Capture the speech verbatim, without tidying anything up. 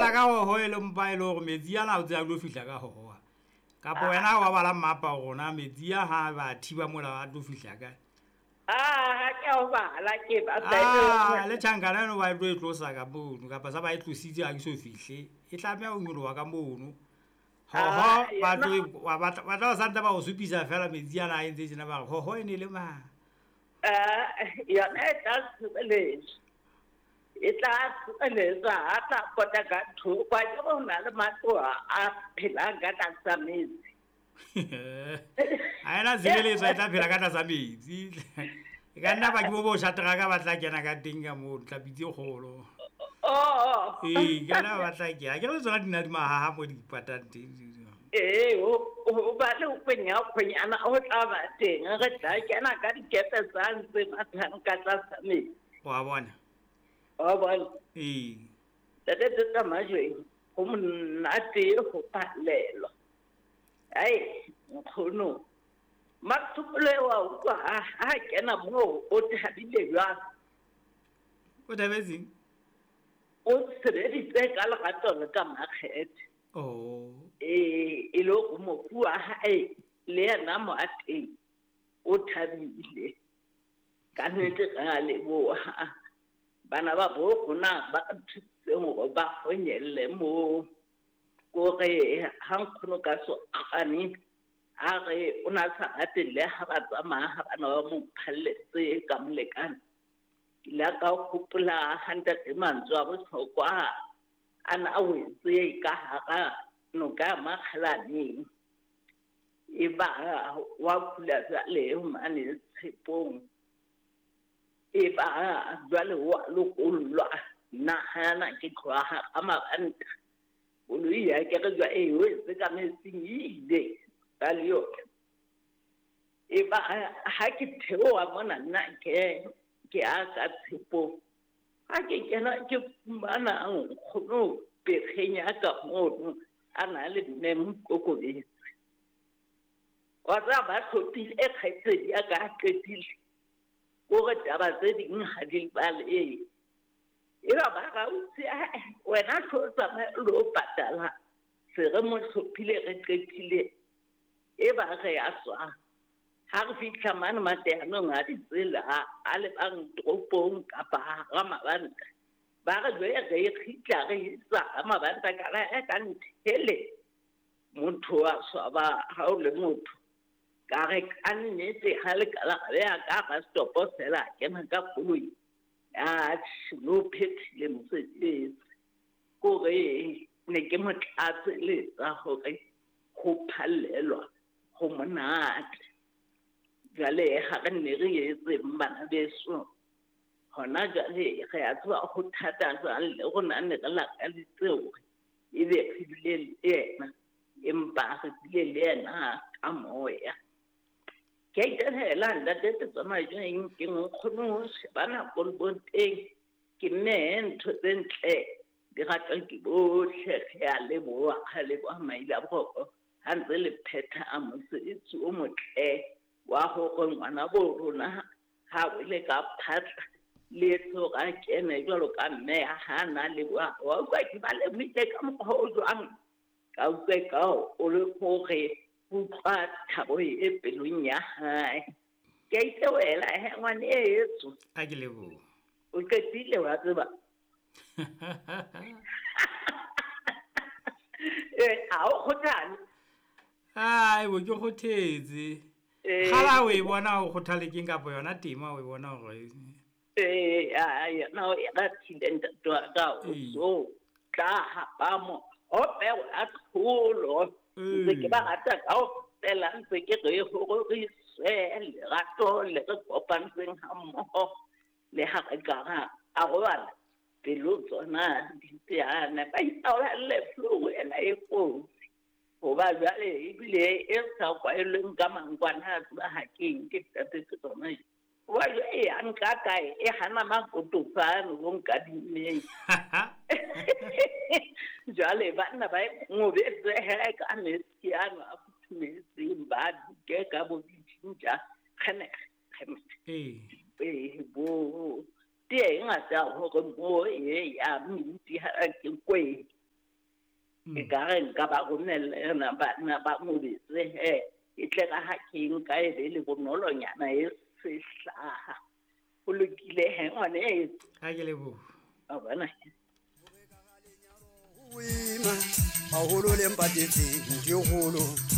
fihla ka hoho e le mpa e le hore metsi ana o tse a tlo fihla ka hoho. Kapa wena wa bala mmapa rona metsi a ha ba thiba mola a tlo fihla kae. Ah, ke o bala ke ba Ah, le tjhankana eno ba tlo e tlosa ka mono kapa sa ba e tlositse ha ke so fihle. E tlameha ho nyoloha ka mono. Hoho ba tlo ba ba tla santse ba o supisa fela metsi ana a entse tjena ba re hoho e ne le mang. Ah, yona e tla tshireletsa. E tla tshireletsa ha tla pota ka thoko a ke ho na le matlo a phelang ka tlasa metsi. Ha ena tshireletso e tla phela ka tlasa metsi. E ka nna ba ke bo bo shatraka ba tla kena ka teng ka mono tlhapi tse kgolo. Oh. Ee, ka nna ba tla kena. Ke re tsona di na di mahaha mo di patang teng. Ee, ho ba le ho kwenya kgwenyana ho tla ba teng. Re tla kena ka dikepe tsa ntse mathang ka tlasa metsi. Wa bona? Wa bona? Ee. Ntate Teta Majweng, ho monate ho phallelwa. Ai, nkgono. Mathupelo wa utlwa ha ha kena moo o thabile jwang? O thabetseng? O sebeditse ka lerato le ka makgethe. Oh. Ee, e le hore mofu wa hae le yena mo a teng o thabile. Ka nnete re a leboha. Bana ba bo rona ba re thusitseng hore ba honyelle moo. Kore ha nkgono ka so kgane a re o na sa rate le ha ba tsamaya ha bana ba mo phalletse ka molekane. Ke la ka hopola ha ntate mantswe a bohlokwa a na a wetse ka hara noka ya Makgalaneng. E ba wa kula jwale mane Tshepong. E ba jwale wa lokollwa. Nahana ke tloha hara mabanta. Koloi ya ke re jwa e wetse ka metsing e ile ka le yona. E ba ha ke theoha mona nna ke ke a ka Tshepong. Ha ke kena ke fumana nkgono pekgeng ya ka mono a na le mme Mokokobetse. Wa tseba ba hlophile e kgaitsedi ya ka a qetile. Kore taba tse ding ha di balehe. E ba ba ra utse wena tlo tsamaya o lo patala. Se re mo hlophile re qetile. E ba re a tswa. Ha re fihla mane mateanong a ditsela a lebang toropong kapa hara mabanta. Ba re jwale re e kgitla re isa hara mabanta ka re ka nthele. Motho wa swaba ha o le motho. Ka re ka nnete ha le ka la beha ka hara setopo fela kena ka koloi. Atjhe, no phethile mosebetsi. Kore ne ke mo tlatseletsa hore ho phallelwa ho monate. Jwale ha re ne re etseng bana beso. Hona jwale re a tseba ho thata jwang le rona ne re lakaditse hore ebe re bile le yena. Empa re bile le yena ka moya. Ke a itahela ntate Tetsa Majweng ke nkgono ho shebana koloboteng. Ke mme ntho tse ntle di ratwa ke bohle. Re a leboha, re leboha maile a boroko ha ntse le phetha mosebetsi o motle wa hore ngwana bo rona ha wele ka phatla le etse hore a kene jwalo ka mme ha na leboha. Wa utlwa ke ba lebohile ka mokgwa o jwang? Ka utlwa ka o le hore utlwa thabo e pelong ya hae. Ke a itewela he ngwane etso. A ke leboha. O qetile wa tseba. Eh, a o kgothale? Ai, bo ke kgothetse. Kgala o e bona o kgothale keng kapa yona tema o e bona hore Eh, a yona o e ratile ntate wa ka o so tla hapa mo. O peo a tlholo. Ntse ke ba rata kaofela ntse ke re hore re swe lerato le re kopantseng ha mmoho le ha re ka ra arobala pelo tsona di teana. Ba itaolelle flu ena e kotsi. Hoba jwale ebile e sa kwaelweng ka mankwana a tseba ha ke eng ke ntate ke tsona. Hoba jwale e ya nka kae e hana makotofane bo nkadimmeng. Jwale banna ba ngobetse he ka metsi ano a futhumetseng ba duke ka bo ditjintja kgene kgene. Ee. Ee, bo tee e ngata hore mo e ya minti ha ke kwe. E ka re nka ba romella yona bana ba mobetse he. E tle ka ha ke nka e be le bonolonyana e sehlaha. Ho lokile he ngwaneso. Ha ke leboha. A bona. Boima haholo le mpatetseng ke kgolo.